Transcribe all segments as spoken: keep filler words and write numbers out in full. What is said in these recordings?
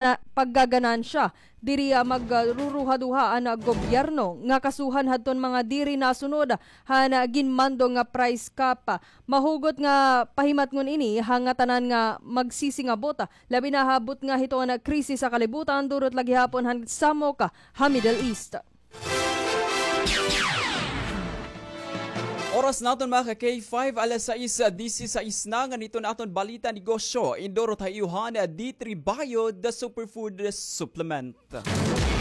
paggaganansya. Diri, ah, magruruhaduha an, ah, gobyerno nga kasuhan hadton mga diri nasunod han, ah, ginmando nga price cap. Mahugot nga pahimatngon ini ha ngatanan nga magsisingabot, labi na ha butnga hiton krisis ha kalibutan, durot la gihapon han samok ha Middle East. Oras naton, mga ka-K five, alas sais disisais na. Ngan iton aton balita negosyo, indurot ha iyo han D three Bio, the superfood supplement.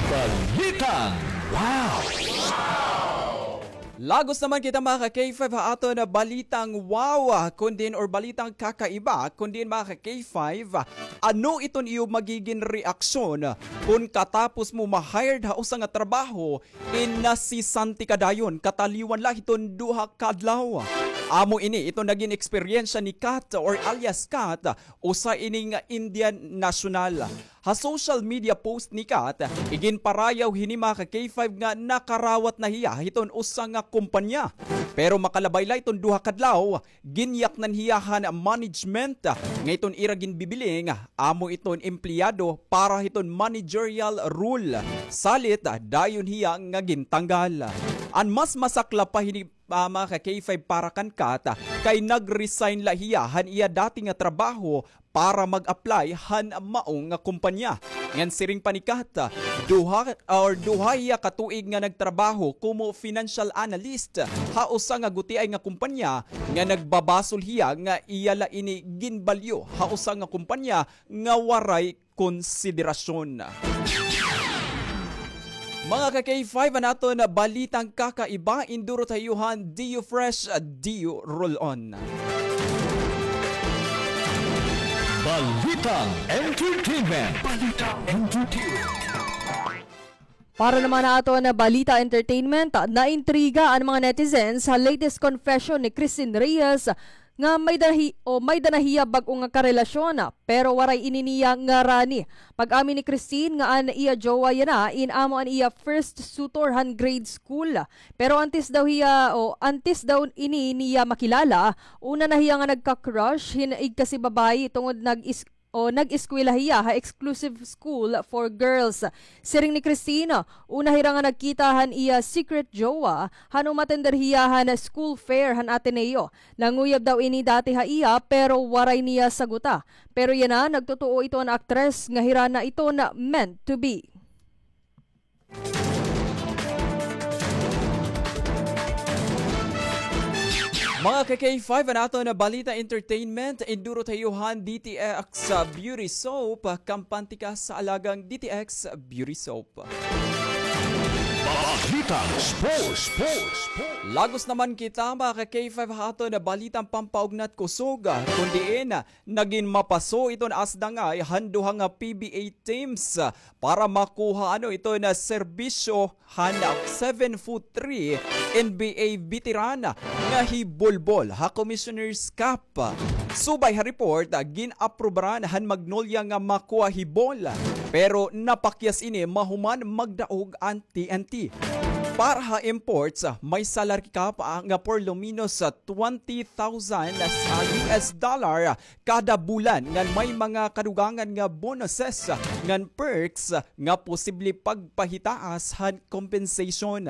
Balitang Wow! Lagos naman kita, mga ka-K five, ha aton balitang wow, kun diin, or balitang kakaiba, kun diin, mga ka-K five, ano iton iyo magigin reaksyon kun katapos mo ma-hired ha usa nga trabaho, inasisante ka dayon, kataliwan la hiton duha ka adlaw. Amo ini iton nagin eksperyensya ni Kat, or alias Kat, usa ini nga Indian national. Ha social media post ni Kat, iginparayaw hini, mga ka-K five, nga nakarawat na hiya hiton usa nga kumpanya. Pero makalabay la iton duha ka adlaw, ginyaknan hiya han management nga iton ira ginbibiling amo iton empleyado para hiton managerial role. Salit, dayon hiya nga gintanggal. An mas masakla pa hini, ah, mga ka-K five, para kan Kat, kay nag-resign la hiya han iya dati nga trabaho para mag-apply han mao nga kumpanya. Ngan siring pa ni Kat, duha or duha hiya ka tuig nga nagtrabaho komo financial analyst ha usa nga gutiay nga kumpanya nga nagbabasol hiya nga iya la ini ginbalyo ha usa nga kumpanya nga waray konsiderasyon. Mga ka-K five, an aton balitang kakaiba, indurot ha iyo han D U Fresh, D U Roll On. Balitang Entertainment. Balitang Entertainment. Para naman ha aton balita entertainment, naintriga an mga netizens ha latest confession ni Christine Reyes nga may da hi-, o may da na hiya bag-o nga karelasyon, pero waray ini niya ngarani. Pag-amin ni Christine nga an iya jowa yana in amo an iya first suitor han grade school. Pero antes daw hiya, o antes daw ini niya makilala, una na hiya nga nagka-crush hin igkasi babayi tungod nag-is-, o nag-eskwela hiya ha exclusive school for girls. Siring ni Christine, una hira nga nagkita han iya secret jowa han umatender hiya han school fair han Ateneo. Nanguyab daw ini dati ha iya, pero waray niya saguta. Pero yana, nagtotoo ito an aktres nga hira na ito na meant to be. Mga ka-K five, an aton balita entertainment, indurot ha iyo han D T X Beauty Soap, kampante ka sa alagang D T X Beauty Soap. Balitang sports, sports, sports. Lagos naman kita, mga ka-K five, ha aton balitang pampaugnat kusog, kun diin nagin mapaso iton asdangay han duha nga P B A teams para makuha ano iton serbisyo han seven foot three N B A veteran nga hi Bol Bol ha Commissioner's Cup. Subay ha report, gin-aprobaran han Magnolia nga makuha hi Bol, pero napakyas ini mahuman magdaog an T N T. Para ha imports, may salary cap nga por lo menos twenty thousand U S dollar kada bulan, ngan may mga kadugangan nga bonuses ngan perks nga posible pagpahitaas han compensation.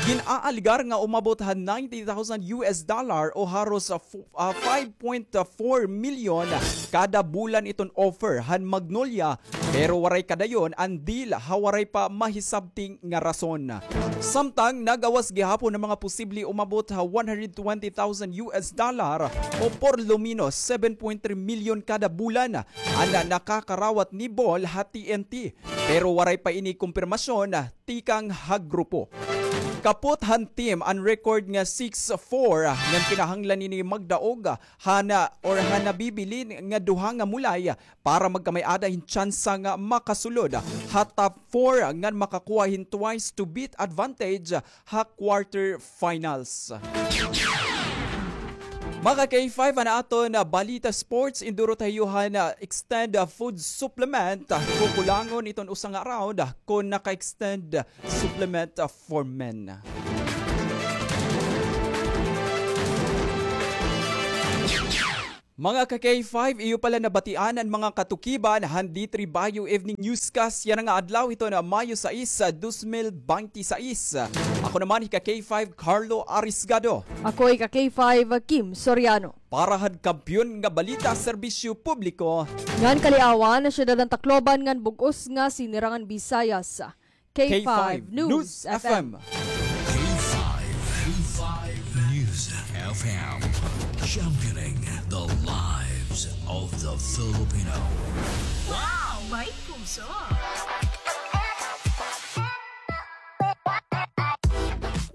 Gin-aalegar nga umabot han ninety thousand U S dollar o haros, ah, fu-, ah, five point four million kada bulan iton offer han Magnolia, pero waray kadayon an deal ha waray pa mahisabti nga rason. Samtang nagawas gihapon an mga posible umabot ha one hundred twenty thousand U S dollar o por lo menos seven point three million kada bulan an nakakarawat ni Bol ha T N T, pero waray pa ini kumpirmasyon tikang ha grupo. Kapot han team an record nga six four, ngan kinahanglan ini magdaog han, or han nabibilin nga duha nga mulay para magkamay-ada hin tsansa nga makasulod ha top four ngan makakuha hin twice to beat advantage ha quarter finals. Mga ka-K five, an aton balita sports, indurot ha iyo han extend food supplement. Kukulangon iton usa nga round kon naka-extend supplement for men. Mga ka-K five, iyo pala nabatian an mga katukiban han D three Bio Evening Newscast yana nga adlaw hiton Mayo sais, dos mil bente sais. Ako naman hi ka-K five Carlo Arisgado. Ako hi ka-K five Kim Soriano. Para han Kampiyon nga Balita, Serbisyo Publiko ngan Kaliawan, Syudad han Tacloban ngan bug-os nga Sinirangan Visayas. K five News F M. K five, K five News F M, championing the lives of the Filipino. Wow! May puso!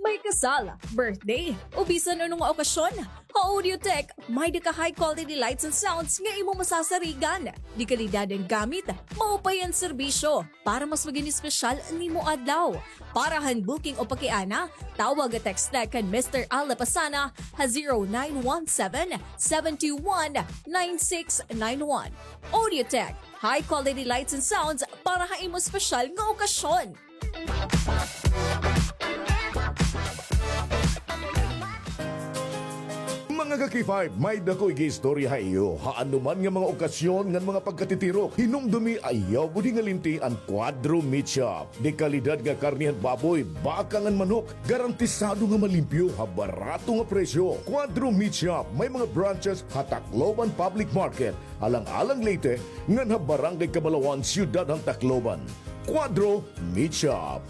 May kasal, birthday, o bisan ano nga okasyon, ha Audiotech, may-ada ka high quality lights and sounds nga imo masasarigan. Dekalidad an gamit, maupay an serbisyo. Para mas magin espesyal an imo adlaw. Para han booking o pakiana, tawag o text na kan Mister Al Lapasana ha zero nine one seven, seven two one, nine six nine one. Audiotech, high quality lights and sounds para ha imo espesyal nga okasyon. Mga ka-K five, may-ada ko igiistorya ha iyo. Ha anoman nga mga okasyon ngan mga pagkatitirok, hinumdumi, ayaw budi nga limti an Cuadro Meat Shop. Dekalidad nga karne han baboy, baka ngan manok, garantisado nga malimpyo ha barato nga presyo. Cuadro Meat Shop, may mga branches ha Tacloban Public Market, Alang-alang, Leyte, ngan ha Barangay Cabalawan, Syudad han Tacloban. Cuadro Meat Shop.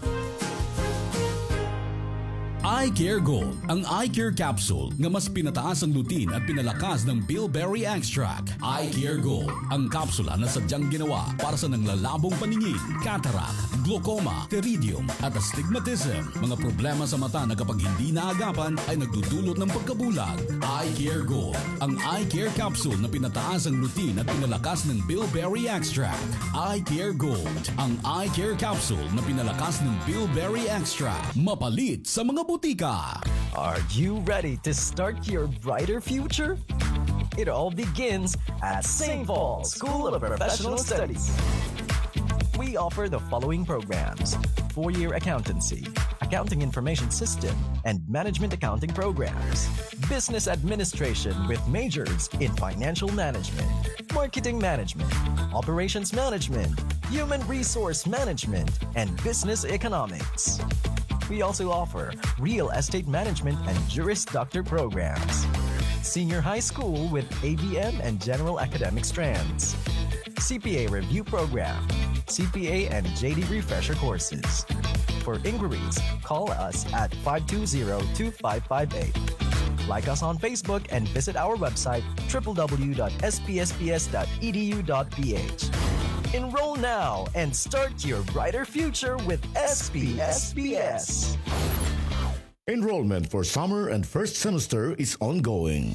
Eye Care Gold, ang eye care capsule nga mas pinataas ang lutein at pinalakas ng bilberry extract. Eye Care Gold, ang kapsula na sadyang ginawa para sa nanglalabong paningin, cataract, glaucoma, pterygium, at astigmatism. Mga problema sa mata na kapag hindi naagapan ay nagdudulot ng pagkabulag. Eye Care Gold, ang eye care capsule na pinataas ang lutein at pinalakas ng bilberry extract. Eye Care Gold, ang eye care capsule na pinalakas ng bilberry extract. Mapalit sa mga butika. Are you ready to start your brighter future? It all begins at Saint Paul's School of Professional Studies. We offer the following programs: four-year accountancy, accounting information system, and management accounting programs, business administration with majors in financial management, marketing management, operations management, human resource management, and business economics. We also offer real estate management and Juris Doctor programs, senior high school with A B M and general academic strands, C P A review program, C P A and J D refresher courses. For inquiries, call us at five two zero, two five five eight. Like us on Facebook and visit our website, triple W dot S P S P S dot E D U dot P H. Enroll now and start your brighter future with S P S P S. Enrollment for summer and first semester is ongoing.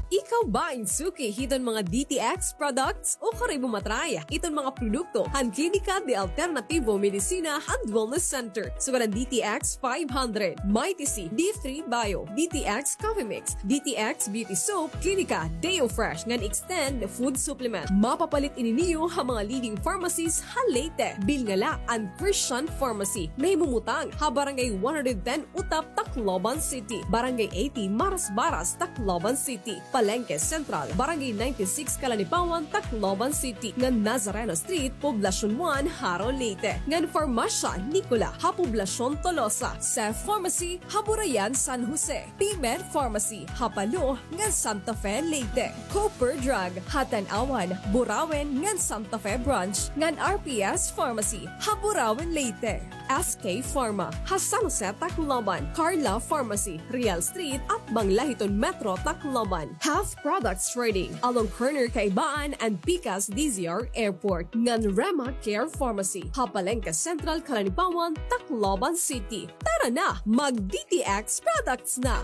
Ikaw ba in suki hiton mga D T X products o kari mo ma-try iton mga produkto han Klinika de Alternativo Medicina and Wellness Center? Sugad an D T X five hundred, Mighty C, D three Bio, D T X Coffee Mix, D T X Beauty Soap, Klinika Deo Fresh ngan Extend Food Supplement. Mapapalit ini niyo ha mga leading pharmacies ha Leyte. Bilngala an Christian Pharmacy, nahimumutang ha Barangay one hundred ten Utap, Tacloban City, Barangay eighty Marasbaras, Tacloban City, Palengke Central, Barangay ninety-six Calanipawan, Tacloban City, ngan Nazareno Street, Poblacion one, Jaro, Leyte, ngan Farmasya Nicola ha Poblacion Tolosa, Seth Pharmacy ha Burayan, San Jose, P-Med Pharmacy ha Palo ngan Santa Fe, Leyte, Cooper Drug ha Tanauan, Burauen ngan Santa Fe Branch, ngan R P S Pharmacy ha Burauen, Leyte, S K Pharma ha San Jose, Tacloban, Carla Pharmacy, Real Street, atbang la hiton Metro Tacloban, Health Products Trading, along corner Kaibaan and Pikas D Z R Airport, ngan Rema Care Pharmacy ha Palengke Central, Calanipawan, Tacloban City. Tara na, mag-D T X products na!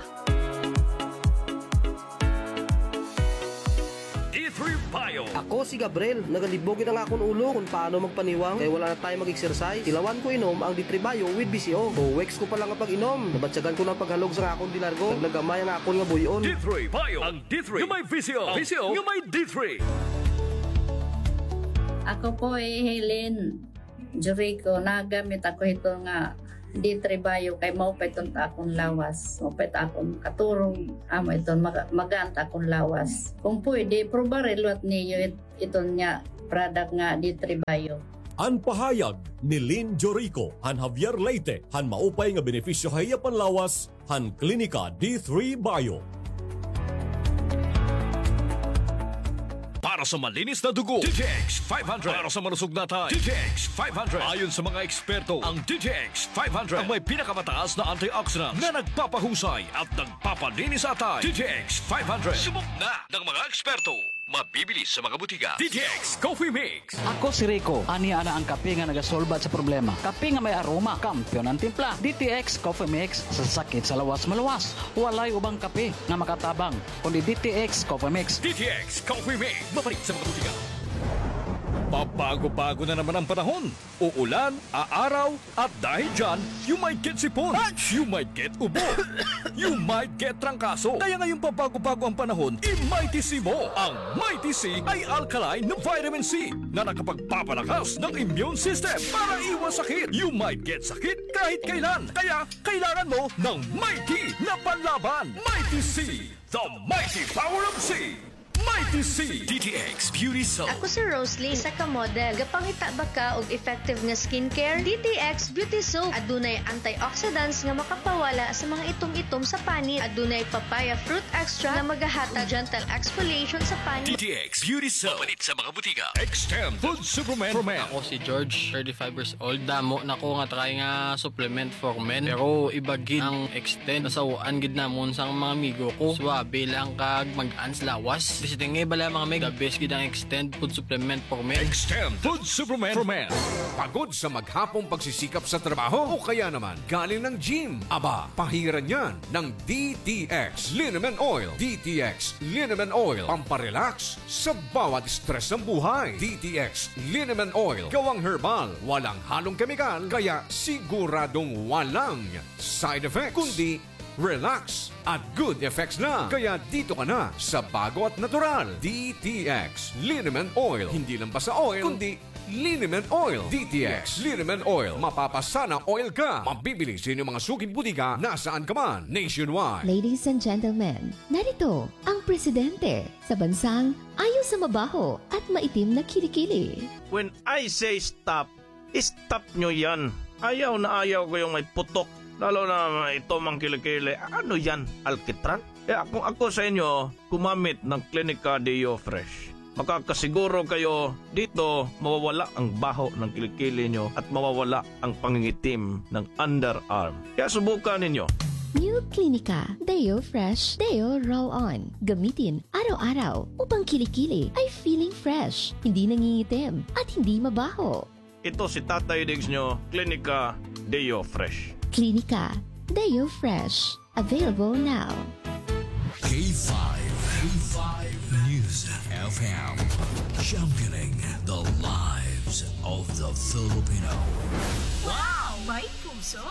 D three Bio. Ako si Gabriel. Nagalibog gid an akon ulo kon paano magpaniwang kay wala na tayo mag-exercise. Tilawan ko inom ang D three Bio with B C O. Two weeks ko pa lang nga pag-inom, nabatyagan ko na an paghalog sa akon de largo. Nagnagamay ang akon nga buy-on. D three Bio. Ang D three nga may B C O. B C O nga may D three. Ako po hi Helen Jurico. Nagamit ako hito nga D three Bio kay maupay iton ha akon lawas. Maupay it akon katurog, amo iton maga-, magaan it akon lawas. Kung pwede, probar liwat niyo it-, iton nga product nga D three Bio. An pahayag ni Lynn Jorico han Javier Leyte han maupay nga benepisyo ha iya panlawas han Klinika D three Bio. Para sa malinis na dugo, D T X five hundred. Para sa malusog na atay, D T X five hundred. Ayon sa mga eksperto, ang D T X five hundred ang may pinakamataas na antioxidant na nagpapahusay at nagpapalinis sa atay. D T X five hundred. Subok na ng mga eksperto. Mabibili sa mga butika. D T X Coffee Mix. Ako si Rico. Ania na an kape nga nagasolbat sa problema. Kape nga may aroma, kampiyon an timpla. D T X Coffee Mix, sa sakit sa lawas maluwas. Walay ubang kape nga makatabang kundi D T X Coffee Mix. D T X Coffee Mix. Mapalit sa mga butika. Pabago-bago na naman ang panahon. Uulan, aaraw, at dahil dyan, you might get sipon. You might get ubo. You might get trangkaso. Kaya ngayong pabago-bago ang panahon, i-Mighty C mo. Ang Mighty C ay alkaline na vitamin C na nakapagpapalakas ng immune system para iwas sakit. You might get sakit kahit kailan. Kaya kailangan mo ng Mighty na panlaban. Mighty C, the mighty power of C. Mighty C. D T X Beauty Soap. Ako si Roslyn, isa ka model. Gapangita ba ka og effective nga skincare? D T X Beauty Soap. Adunay antioxidants nga makapawala sa mga itom-itom sa panit. Adunay papaya fruit extract nga magahatag gentle exfoliation sa panit. D T X Beauty Soap. Mapalit sa mga butika. Extend Food Supplement for Men. Ako si George, thirty-five years old. Damo na ko nga try nga supplement for men. Pero iba gid ang Extend. Nasaw-an gid namon sang mga amigo ko. Suabe lang kag magaan sa lawas. Bisiting nga bala, mga mig. The best gid ang Extend Food Supplement for Men. Extend Food Supplement for Men. Pagod sa maghapong pagsisikap sa trabaho o kaya naman galing ng gym? Aba, pahiran yan ng D T X Liniment Oil. D T X Liniment Oil, pamparelax sa bawat stress ng buhay. D T X Liniment Oil, gawang herbal, walang halong kemikal, kaya siguradong walang side effects, kundi relax at good effects lang. Kaya dito ka na sa bago at natural. D T X Liniment Oil. Hindi lang basta oil, kundi Liniment Oil. D T X Liniment Oil. Mapapasana oil ka. Mabibili sa inyong mga suking butika nasaan ka man nationwide. Ladies and gentlemen, narito ang presidente sa bansang ayaw sa mabaho at maitim na kilikili. When I say stop, stop nyo yan. Ayaw na ayaw ko yung may putok. Lalo na ito mang kilikili. Ano yan? Alkitran? Kaya kung ako sa inyo, gumamit ng Clinica Deo Fresh. Makakasiguro kayo dito mawawala ang baho ng kilikili nyo at mawawala ang pangingitim ng underarm. Kaya subukan ninyo. New Clinica Deo Fresh Deo Roll On. Gamitin araw-araw upang kilikili ay feeling fresh, hindi nangingitim, at hindi mabaho. Ito si Tatay Diggs nyo, Clinica Deo Fresh. Clinica Deo Fresh. Available now. K five, K five News F M, championing the lives of the Filipino. Wow! May puso!